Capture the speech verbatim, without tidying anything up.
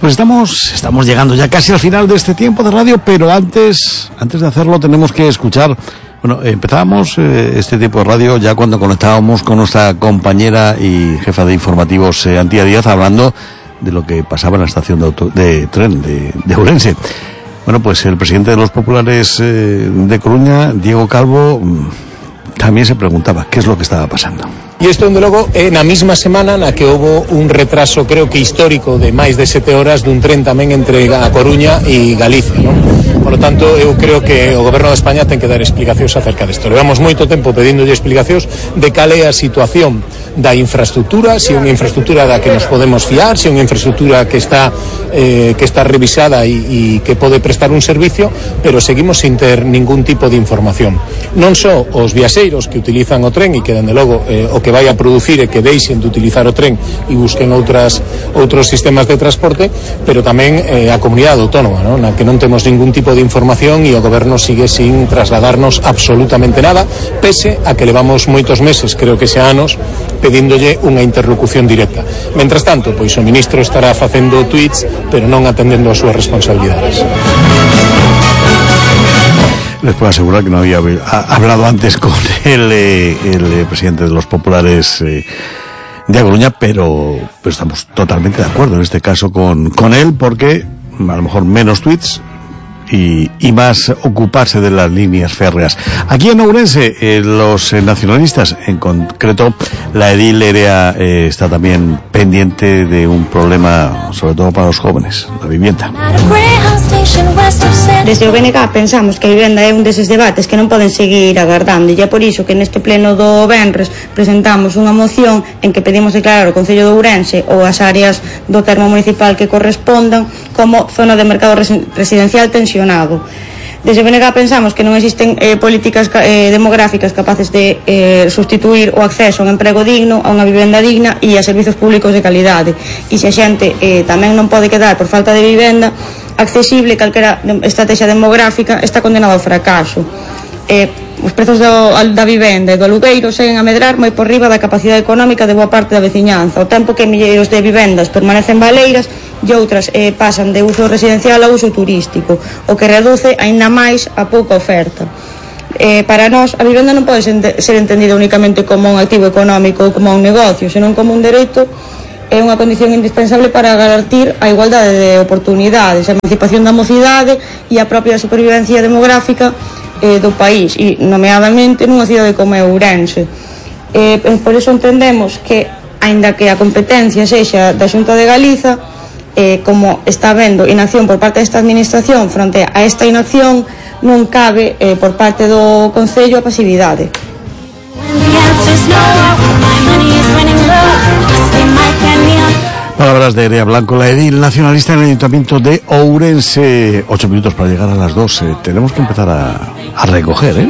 Pues estamos, estamos llegando ya casi al final de este tiempo de radio, pero antes, antes de hacerlo tenemos que escuchar. Bueno, empezábamos eh, este tipo de radio ya cuando conectábamos con nuestra compañera y jefa de informativos, eh, Antía Díaz, hablando de lo que pasaba en la estación de, auto, de tren de, de Ourense. Bueno, pues el presidente de los populares eh, de Coruña, Diego Calvo, también se preguntaba qué es lo que estaba pasando. E isto, onde logo, é na mesma semana na que houve un retraso, creo que histórico, de máis de sete horas dun tren tamén entre a Coruña e Galicia, non? Por lo tanto, eu creo que o Goberno de España ten que dar explicacións acerca disto. Levamos moito tempo pedíndolle explicacións de cal é a situación da infraestructura, se é unha infraestructura da que nos podemos fiar, se é unha infraestructura que está eh, que está revisada e, e que pode prestar un servicio, pero seguimos sin ter ningún tipo de información. Non só os viaxeiros que utilizan o tren e que, dende logo, eh, o que vai a producir é que deixen de utilizar o tren e busquen outras outros sistemas de transporte, pero tamén eh, a comunidade autónoma, non? Na que non temos ningún tipo de información e o Goberno sigue sin trasladarnos absolutamente nada, pese a que levamos moitos meses, creo que xa anos, pedíndolle unha interlocución directa. Mentras tanto, pois o ministro estará facendo tweets, pero non atendendo as súas responsabilidades. Les puedo asegurar que no había hablado antes con el, eh, el presidente de los populares eh, de A Coruña, pero, pero estamos totalmente de acuerdo en este caso con, con él, porque a lo mejor menos tweets y, y más ocuparse de las líneas férreas. Aquí en Ourense, eh, los eh, nacionalistas, en concreto la edil Erea, eh, está también pendiente de un problema, sobre todo para los jóvenes, la vivienda. Desde o B N G pensamos que a vivenda é un deses debates que non poden seguir agardando, e é por iso que neste pleno do venres presentamos unha moción en que pedimos declarar o Concello de Ourense ou as áreas do termo municipal que correspondan como zona de mercado residencial tensionado. Desde o B N G pensamos que non existen eh, políticas eh, demográficas capaces de eh, sustituir o acceso a un emprego digno, a unha vivenda digna e a servizos públicos de calidade. E se a xente eh, tamén non pode quedar por falta de vivenda accesible, calquera estrategia demográfica está condenado ao fracaso. Eh, os prezos do, da vivenda e do alugueiro seguen a medrar moi por riba da capacidade económica de boa parte da veciñanza, ao tempo que milleiros de vivendas permanecen baleiras e outras eh, pasan de uso residencial a uso turístico, o que reduce aínda máis a pouca oferta. Eh, para nós, a vivenda non pode ser entendida únicamente como un activo económico ou como un negocio, senón como un dereito. É unha condición indispensable para garantir a igualdade de oportunidades, a emancipación da mocidade e a propia supervivencia demográfica eh, do país, e nomeadamente nunha cidade como é Ourense. Eh, por iso entendemos que, aínda que a competencia sexa da Xunta de Galiza, eh, como está vendo inacción por parte desta administración fronte a esta inacción, non cabe eh, por parte do Concello a pasividade. Palabras de Erea Blanco, la edil nacionalista en el Ayuntamiento de Ourense. Ocho minutos para llegar a las doce. Tenemos que empezar a, a recoger, ¿eh?